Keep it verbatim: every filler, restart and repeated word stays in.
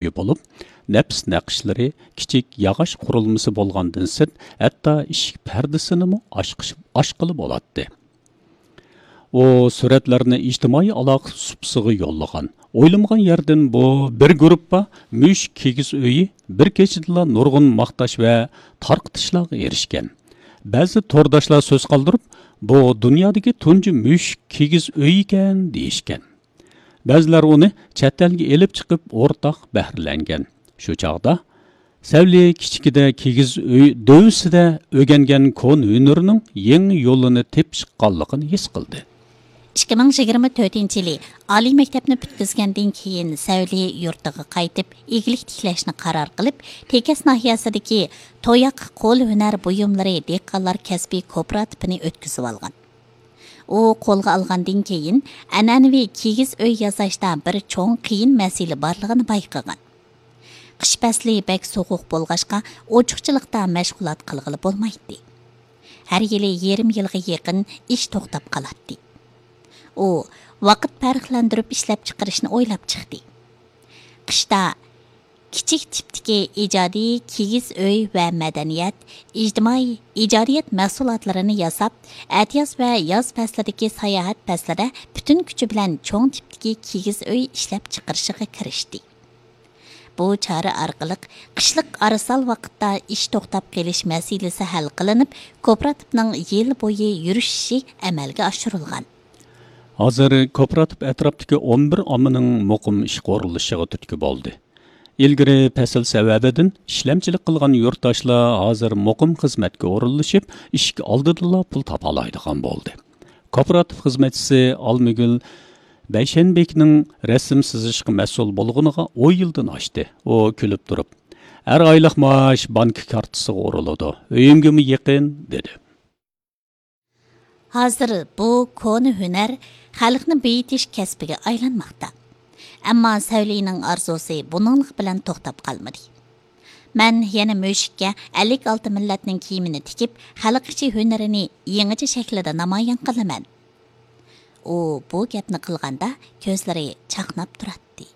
ئۆيى بولۇپ، نەپىس نەقىشلىرى، كىچىك ياغاچ قۇرۇلمىسى بولغاندىن سىرت، ھەتتا ئىشىك پەردىسىنىمۇ ئاچقىش-، ئاچقىلى بولاتتى. ئۇ سۈرەتلەرنى ئىجتىمائىي ئالاقە سۇپىسىغا يوللىغان. ئويلىمىغان يەردىن بۇ بىر گۇرۇپپا مۈشۈك كىگىز ئۆيى بىر كېچىدىلا نۇرغۇن ماختاش ۋە تارقىتىشلارغا ئېرىشكەن. بەزى تورداشلار سۆز قالدۇرۇپ، بۇ دۇنيادىكى تۇنجى مۈشۈك كىگىز ئۆيى ئىكەن، دېيىشكەن. بەزىلەر ئۇنى چەت ئەلگە ئېلىپ چىقىپ ئورتاق بەھرىلەنگەن. شۇ چاغدا سەۋلى كىچىكىدە كىگىز ئۆي دۆۋىسىدە ئۆگەنگەن كونا ھۈنىرىنىڭ يېڭى يولىنى تېپىشقانلىقىنى ھېس قىلدى. ئىككى مىڭ يىگىرمە تۆتىنچى يىلى ئالىي مەكتەپنى پۈتكۈزگەندىن كېيىن سەۋلى يۇرتىغا قايتىپ، ئىگىلىك تىكلەشنى قارار قىلىپ، تېكەس ناھىيەسىدىكى توياق قول ھۈنەر بۇيۇملىرى دېھقانلار كەسپىي كوپىراتىپىنى ئۆتكۈزۈۋالغان. ئۇ قولغا ئالغاندىن كېيىن، ئەنئەنىۋى كىگىز ئۆي ياساشتا بىر چوڭ قىيىن مەسىلە بارلىقىنى بايقىغان. قىش پەسلى بەك سوغۇق بولغاچقا، ئوچۇقچىلىقتا مەشغۇلات قىلغىلى بولمايتتى. ھەر يىلى يېرىم يىلغا يېقىن ئىش توختاپ قالاتتى. ئۇ ۋاقىت پەرقلەندۈرۈپ ئىشلەپچىقىرىشنى ئويلاپ چىقتى. قىشتا كىچىك تىپتىكى ئىجادىي كىگىز ئۆي ۋە مەدەنىيەت، ئىجتىمائىي ئىجادىيەت مەھسۇلاتلىرىنى ياساپ، ئەتىياز ۋە ياز پەسلىدىكى ساياھەت پەسلىدە پۈتۈن كۈچى بىلەن چوڭ تىپتىكى كىگىز ئۆي ئىشلەپچىقىرىشىغا كىرىشتى. بۇ چارە ئارقىلىق قىشلىق ئارىسال ۋاقىتتا ئىش توختاپ قېلىش مەسىلىسى ھەل قىلىنىپ، كوپىراتىپنىڭ يىل بويى يۈرۈشۈشى ئەمەلگە ئاشۇرۇلغان. ھازىر كوپىراتىپ ئەتراپتىكى ئون بىر ئاممىنىڭ مۇقىم ئىشقا ئورۇنلىشىشىغا تۈرتكە بولدى. ئىلگىرى پەسىل سەۋەبىدىن ئىشلەمچىلىك قىلغان يۇرتداشلار ھازىر مۇقىم خىزمەتكە ئورۇنلىشىپ، ئىشىك ئالدىدىلا پۇل تاپالايدىغان بولدى. كوپىراتىپ خىزمەتچىسى ئالمىگۈل بەيشەنبىكنىڭ رەسىم سىزىشقا مەسئۇل بولغىنىغا ئون يىلدىن ئاشتى. ئۇ كۈلۈپ تۇرۇپ، «ھەر ئايلىق مائاش بانكا كارتىسىغا ئۇرۇلىدۇ، ئۆيۈمگىمۇ يېقىن» دېدى. ھازىر بۇ كونا ھۈنەر خەلقنى بېيىتىش كەسپىگە ئايلانماقتا. ئەمما سەۋلىنىڭ ئارزۇسى بۇنىڭلىق بىلەن توختاپ قالمىدى. «مەن يەنە مۈشۈككە ئەللىك ئالتە مىللەتنىڭ كىيىمىنى تىكىپ، خەلق ئىچى ھۈنىرىنى يېڭىچە شەكىلدە نامايان قىلىمەن.» ئۇ بۇ گەپنى قىلغاندا كۆزلىرى چاقناپ تۇراتتى.